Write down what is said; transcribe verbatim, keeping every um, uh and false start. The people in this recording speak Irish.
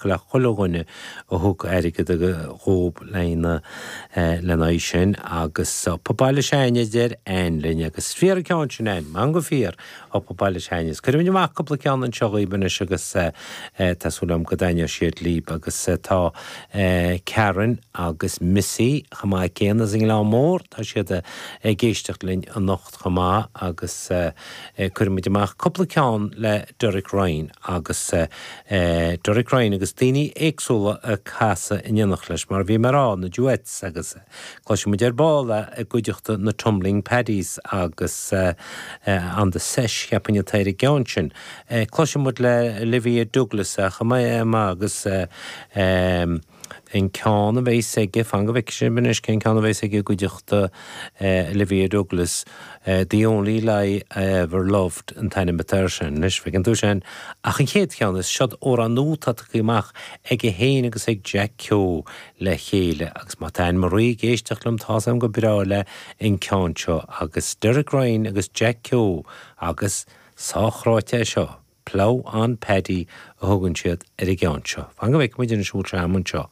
acu le chuile dhuine a thug airgead dhób lena lena aghaidh sin agus up Baile Sheáin a deir Ann linn agus fíor an ceann sin Ann, man go fíor up Baile Sheáin. Is cuirfimid amach cúpla ceann anseo dhaoibh anois agus tá súil agam go dtaitneoidh siad libh agus tá Karen agus Missy chomh maith céanna as an nGleann Mór, tá siad ag éisteacht linn anocht chomh maith agus cuirfimid amach cúpla ceann le Derek Ryan agus Derek Ryan agus daoine éagsúla ag casadh in éineacht leis mar bhí mé ag rá, na duets agus cloisfimid ar ball é i gcuideachta na Tumbling Paddies agus On the Sesh cheapfainn atá ar an gceann sin. Cloisfimid le Olivia Douglas chomh maith agus an ceann a bheas aige, fan go bhfeicfidh sibh anois cén ceann a bheas aige i gcuideachta Olivia Douglas, The Only Lie I Ever Loved an t-ainm atá air sin. Anois, feiceann tú sin. Ach an chéad cheann, is seod amhrán nua atá tagtha amach aige féin agus ag Jack Keogh le chéile agus má tá Anne Marie ag éisteacht liom tá's agam gur breá léi an ceann seo agus Derek Ryan agus Jack Keogh agus sách ráite é seo, Plough on Paddy a thugann siad ar an gceann seo. Fan go bhfeicfidh muid anois an bhfuil sé agam anseo.